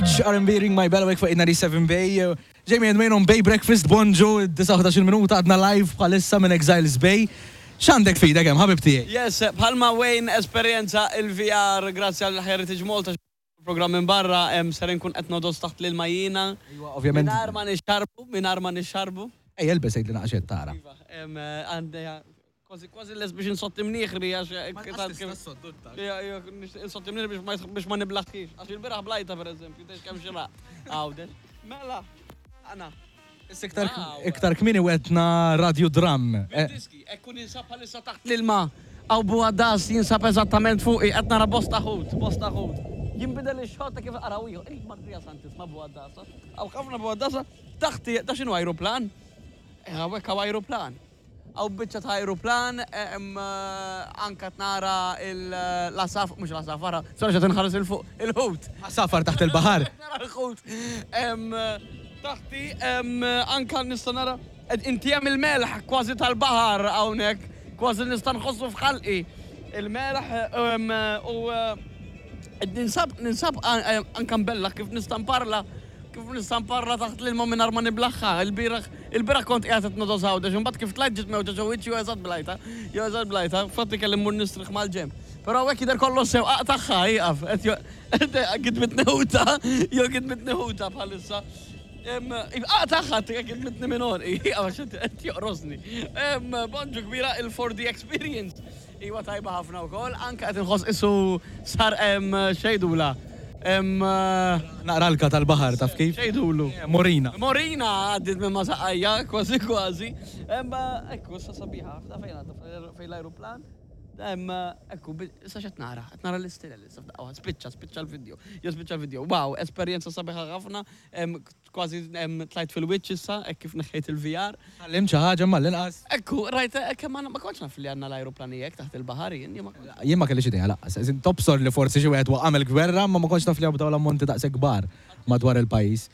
Rich R&B Ring My Bell hawnhekk fuq 97 Bay. Jamie and Wayne on Bay Breakfast, bonġu, 9 minuta għadna live bħalissa minn Exiles Bay. X'għandek f'idek hemm ħabib tiegħi? Yes, bħalma Wayne esperjenza il-VR grazzi għal Heritage Malta program minn barra hemm ser inkun qed nodos taħt l-ilma jiena. Iva, ovvjament. Mingħajr ma nixxarbu, mingħajr ma nixxarbu. Ejja elbes għidli naqra x'qed tara. Iva, għandi kważi kważi les biex insotti mnieħri għax insotti mnieħri biex ma niblaħħix. Għax il-bieraħ blajta pereżempju, tgħix kemm xiraq. Għawdex. Mela, għana. Issa iktar iktar kmieni wetna radio drum. Eh. Diski, ekku ninsab bħalissa taħt l-ilma. Għaw buħadas jinsab eżattament fuqi, qed nara bosta ħut, bosta ħut. Jinbidel ix-xogħol ta' kif araw ieħor. Il-Marija Santisma buħadasa. Għaw ħafna buħadasa taħti, ta' x'inhu ajruplan? Eh, hawnhekk hawn ajruplan. Hawn biċċa ta' ajruplan, anka nara l-għasafar, mhux l-għasafar, sorry x'qed inħares 'il fuq, il-ħut. Għasafar taħt il-baħar. Nara l-ħut. Taħti anka nista' nara inti hemm il-melħ kważi tal-baħar hawnhekk, kważi nista' nħossu f'ħalqi. Il-melħ u ninsab ninsab anka mbellaħ kif nista' nparla Kif nista' nparla taħt l-ilma mingħajr ma niblaħħa? Ilbieraħ, ilbieraħ kont qiegħed qed nogħdos Għawdex, imbagħad kif tlajt ġiet mewġa ġo wiċċi u eżatt blajtha, jew eżatt blajtha, fatti kelli mmur nistrieħ mal-ġenb. Però hawnhekk jidher kollox sew, aqtagħha, ieqaf, qed jo, gidmitni ħuta, jew gidmitni ħuta bħalissa. Aqtagħha, gidmitni minn għonqi, ieqaf għax qed joqrosni. Bonġu kbira il-4D experience. Iwa tajba ħafna wkoll, anke qed inħoss isu sar hemm xejdula. Hemm Naqra alka tal-baħar taf kif? Xejdulu? Morina. Morina għaddiet minn ma' saqajja kważi kważi. Hemm ekku issa sabiħa ħafna fejn għadha fejn l-ajruplan. Hemm ekku issa x'qed nara? Qed nara l-istilel issa f'daqqa waħda. Spiċċa, spiċċa l-video. Jew spiċċa l-video. Wow, esperjenza sabiħa ħafna. Kważi tlajt fil-wiċċ issa, hekk kif neħħejt il-VR. Tgħallimt xi ħaġa imma għall-inqas. Ekku, rajt, kemm għandna, ma kontx naf li għandna l-ajruplani hekk taħt il-baħar jien, jien ma kontx. Jien ma kellix idea lanqas. Tobsor li forsi xi wieħed waqa' mill-gwerra imma ma kontx naf li hawn dawn l-ammonti daqshekk kbar madwar il-pajjiż.